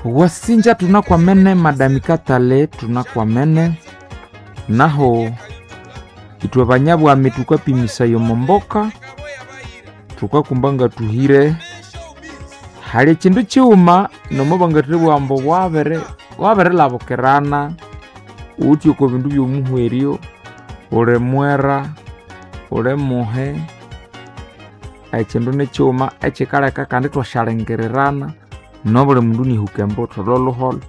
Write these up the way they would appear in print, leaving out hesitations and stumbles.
Wasinja tunakwamene madami Katale tunakwamene naho ithwe banyabwami tukapimisaya omomboka tukakumba nga tuhire. Hali ekindu kighuma nomo bangathibugha ambu wabirilabukirana ghuthi oko bindu by'omuhweryo uli mwera, uli muhe, ekindu nikighuma ekikaleka kandi ithwasyalingirirana nobuli mundu inihuka embuthu lholholho.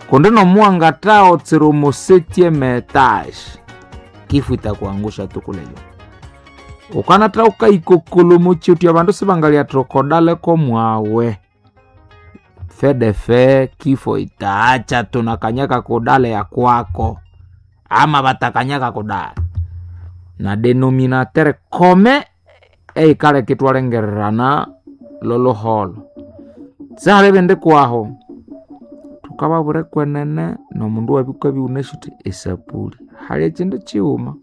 Kundi nomuwangathagotsera omo septième etage kifo itakuangusha tu kule juu. Ukanatha wukayikokolha omo kyotya abandu sibangalyathi okodale komwawe. Fedefe kifo itaacha tunakanyaka kudale ya kwako ama batakanyaka kudale. Na denominateur commun eyikaleka ithwalengererana lholholho. Sihali ebindi kwaho, thukababwira kwenene nomundu iwabya wukabya iwunasi wuthi esapuli. Hali ekindu kighuma,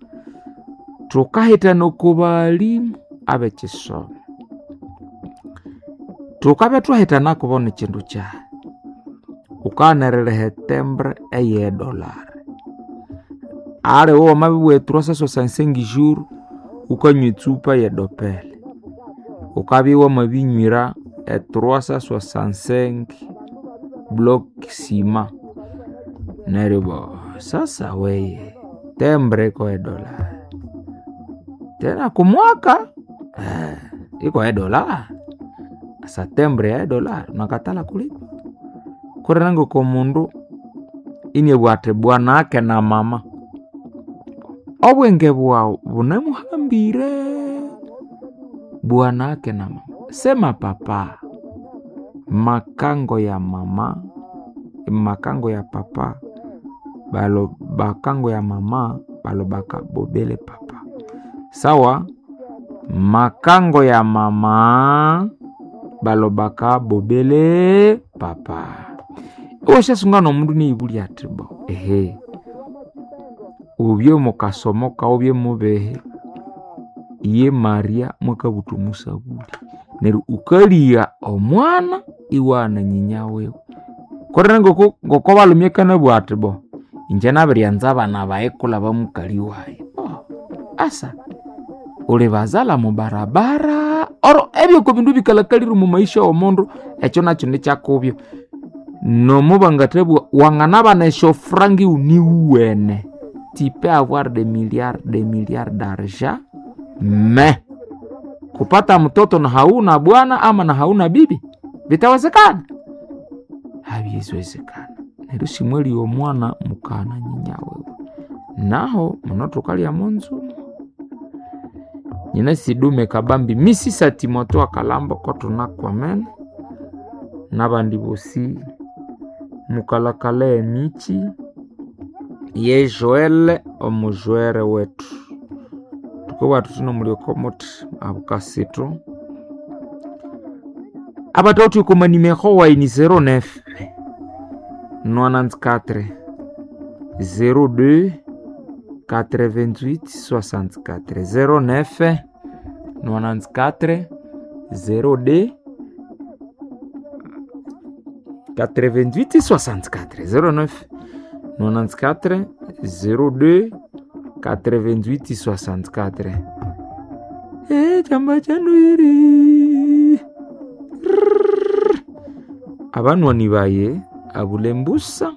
thukahitana oko baghalimu ab'ekisomo. Thukabya thwahitana kubo nikindu kyahi? Ghukaghana eririha etembre ey'edollar. Aliwe wamabibugha e trois cent soixante-cinq jours wukanywa etsupa y'edopele. Wukabya iwamabinywira e trois cent soixante-cinq block ciment. Neryo bo sasa weye tembre iko edollar tena kumwaka iko edollar. Asa tembre ya edollar unakatala kulipa. Kulire ng'okomundu iniabugha athi bwanake na mama, obwenge bwaghu bunemuhambire bwanake na mama. Sema papa, makango ya mama, makango ya papa, balo bakango ya mama balobaka bobele papa. Sawa, makango ya mama balobaka bobele papa. Iwasyasunga n'omundu iniyibulya athi bo ehe, ubye mukasomo kawu ubye mubehe, iye Maria mwakabutha omusabuli. Neryo wukaligha omwana iwaghana nyinya wiwe. Kulire ngoko balhume akanabugha athi bo ingye nabiryanza abana bayi kulaba mukali wayi. Oh, asa ulibazalha mubarabara oro ebyoko bindu bikalhakalire omo maisha w'omundu ekyo nakyo nikyakubyo. Nomo bangathabugha wanganabana esyofuranga ighuniwene. Tu peux avoir des milliards d'argent mais kupata mtoto na hauna bwana ama na hauna bibi vitawezekana? Habiziwezekana. Neryo simwalya omwana mukana nyinya wiwe. Naho muno thukalya monzu nyina sidume kabambi misisa Timotheo akalhambo kotunakwamene n'abandi bosi mukalakala emichi ye Joel omujwere wethu. Thukabugha thuthi nomulyoko muthi abukasithu. Abathawithe oko manimero wayi ni 09 94 02 88 64 09 94 02 88 64 09 94 02 88 64. Chamba chanwiri abanwani baye abulembusa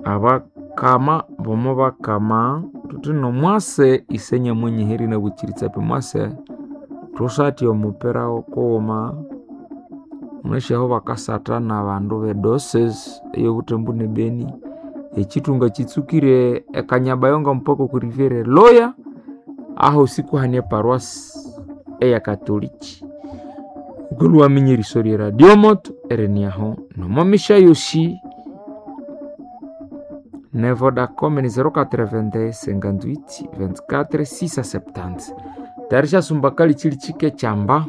abakama bomo bakama thuthi nomwase ise nyamwenyiheri nabuchiritsapi mwase thusatya omupira kughuma munasyaho bakasatha n'abandu b'edoses ey'obuthembu n'ebeni. Ekithunga kitsukire ekanyabayonga mpaka oku riviere Loya ahosi kuhane eparuasi eya katoliki. Wukalhwa waminya eriso lye radio moto eriniaho nomo misya yosi. Ne Vodacom ni 081 58 24 670. Tayari syasumba kali chili chike chamba.